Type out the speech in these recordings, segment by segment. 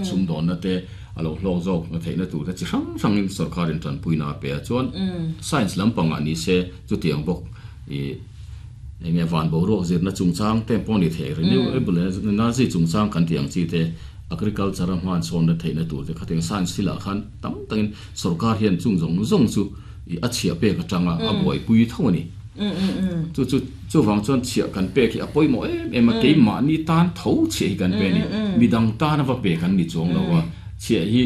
Sumdawnna te a lo hlawk zawk theihna tur te chi hrang hrangin sorkarin tanpuina a pe a. Chuan science lampangah ni se chutiang bawk ih eng nge van boruak zirna chungchang te pawh a ni thei, renewable energy chungchang kan tih ang chi te, agriculture a hman sawnna theihna tur te khatiang science thilah khan tam takin sorkar hian chung zawng zawng chu ih a chhiah pek atanga a buaipui tho a ni. Chu chu chuvang chuan chhiah kan pek hi a pawimawh em em a, keimahni tan tho chhiah hi kan pe a ni. Midang tana va pe kan ni chuang lo a, chhiah hi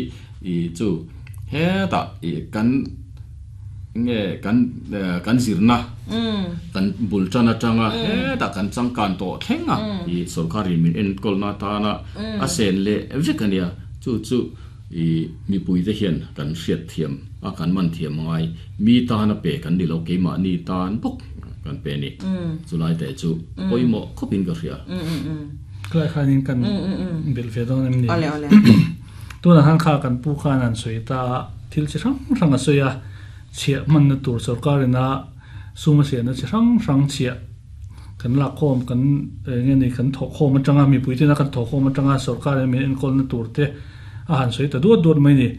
ih chu hetah ih kan nge kan kan zirna kan bul tan atanga hetah kan changkan tawh thleng a, ih sorkarin min enkawlna atana a sen leh vek a nia. Chu chu I mipuite hian kan hriat thiam a, kan man thiam ngai. Mi tan a pe kan ni lo, keimahni tan bawk kan pe a ni. Chulai te chu pawimawh khawpin ka hria. Khilai khanin kan belh ve dawn em ni? Tunah khan kha kan pu khan an sawi ta a, thil chi hrang hrang a sawi a, chhiah hmanna tur sorkarina sum a siamna chi hrang hrang chhiah kan lakkhawm kan eng nge ni kan thawhkhawm atanga mipui tena kan thawhkhawm atanga sorkar in min enkawlna tur te a han sawi ta duat duat mai ni.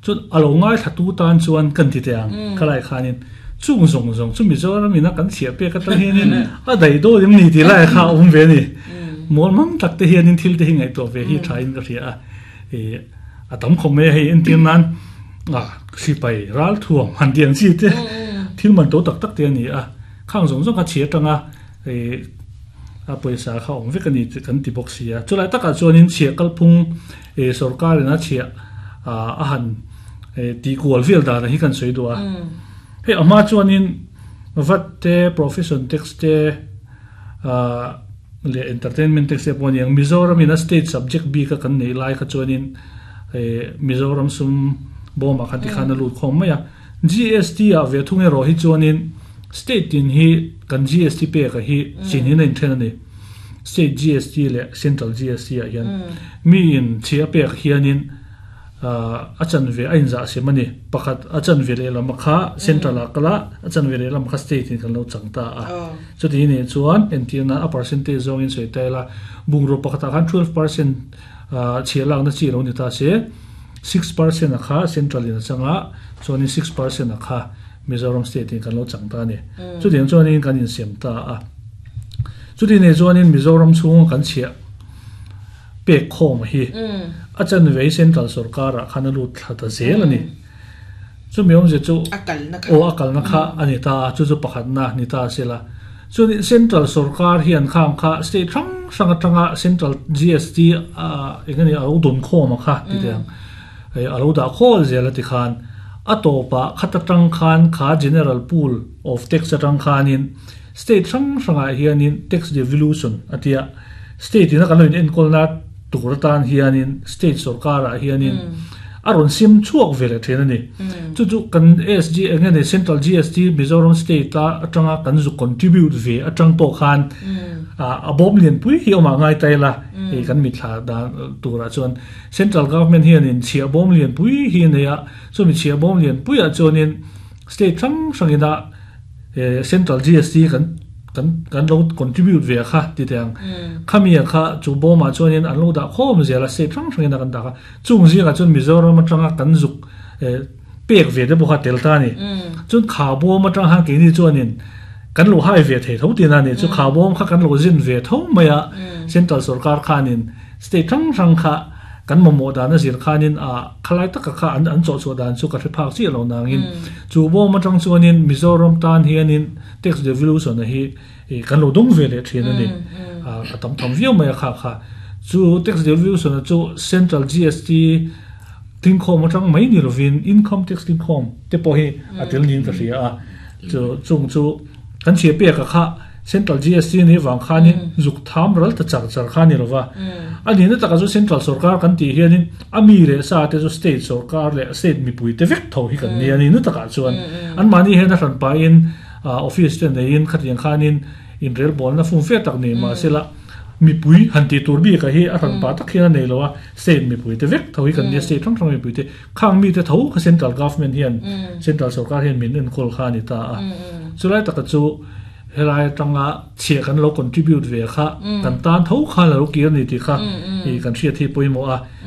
Chuan a lo ngaithla tu tan chuan kan ti teh ang khalai khanin chung zawng zawng chu Mizoram ina kan chhiah pek atang hianin a daih dawn em ni tih lai kha a awm ve a ni. Mual mang tak te hianin thil te hi ngaihtuah ve hi tha in ka hria a ih a tam khawp mai a hei entir nan a sipai ralthuam han tih ang chi te thil man to tak tak te a ni a. Khang zawng zawng kha chhi atanga ih a pawisa kha awm vek a ni tih kan ti bawk si a. Chulai takah chuanin chhiah kalphung ih sorkarin a chhiah ah a han ih tih kual vel dan hi kan sawi duh a. Hei a hma chuanin vat te, profession tax te ah leh entertainment tax te pawh a ni ang. Mizoramin a state subject bik a kan neih lai kha chuanin ih Mizoram sum bawmah khan tikhan a lut khawm mai a. GST ah ve thung erawh hi chuanin state tin hi kan GST pek a hi chin in a inthen a ni. State GST leh Central GST ah hian mi in chhi a pek hianin a chanve a inzah sem a ni. Pakhat a chanve lehlam a kha Central ah kal a, a chanve lehlam kha state in kan lo chang ta a. Chuti nih chuan entirna a percentage zawngin sawi ta ila bungraw pakhatah khan 12% chhiah lakna chi lo ni ta se, 6% a kha Central in a chang a, chuanin 6% a kha Mizoram state in kan lo chang ta a ni. Chutiang chuanin kan insiam ta a. Chuti nei chuanin Mizoram chhunga kan chhiah pek khawm hi a chanve Central sorkarah khan a lut thla ta zel a ni. Chumi awmzia chu aw a kalna kha a ni ta a, chu chu pakhatna ni ta a si la. Chuanin Central sorkar hian khang kha state hrang hrang atanga Central GST eng nge ni a lo dawn khawm a kha ti teh ang a lo dah khawl zel a ti khan a tawpah khat atang khan kha General Pool of Tax atang khanin state hrang hrangah hianin tax devolution a tia state ina kan lo in enkawlna tur atan hianin state sorkarah hianin a rawn sim chhuak ve leh thin a ni. Chu chu kan SG eng nge ni Central GST Mizoram state a atanga kan zu contribute ve atang pawh khan a bawm lianpui hi awmah ngai ta ila hei kan mithla dan turah chuan Central government hianin chhiah bawm lianpui hi a nei a, chumi chhiah bawm lianpuiah chuanin state hrang hrangina Central GST kan kan kan lo contribute ve kha ti teh ang. Khami a kha chu bawmah chuanin an lo dah khawm zel a state hrang hrangin a kan dah kha. Chung zingah chuan Mizoram atanga kan zuk pek ve te pawh kha tel ta a ni. Chuan kha bawm atang khan keini chuanin kan lo hai ve thei tho tihna a ni. Chu kha bawm kha kan lo zin ve tho mai a, Central sorkar khanin state hrang hrang kha kan mamawh dan a zir khanin a khalai taka kha an an chawhchhuah dan chu ka hre phak chiah lo nangin chu bawm atang chuanin Mizoram tan hianin tax devolution a hi kan lo dawng ve leh thin a ni. A tam tham viau mai a kha kha. Chu tax devolution a chu Central GST tlingkhawm atang mai ni lovin income tax tlingkhawm te pawh hi a tel niin ka hria a. Chu chung chu kan chhia pek a kha Central GST ni vang khanin zuk tham ral ta char char kha ni lova. A nihna takah chu Central sorkar kan tih hianin a mi leh sa te chu state sorkar leh state mipui te vek tho hi kan nia a nihna takah chuan anmahni hian a hran pahin office te neiin khatiang khanin inrelbawlna fum fe tak nei mahsela mipui han tih tur bikah hi a hran pah tak hian a nei lo a, state mipui te vek tho hi kan nia state hrang hrang mipui te khang mite tho kha central government hian central sorkar hian min enkawl kha a ni ta a. Chulai taka chu helai atanga chhiah kan lo contribute ve kha kan tan tho khan a lo kir a ni tih kha kan hriat hi pawimawh a.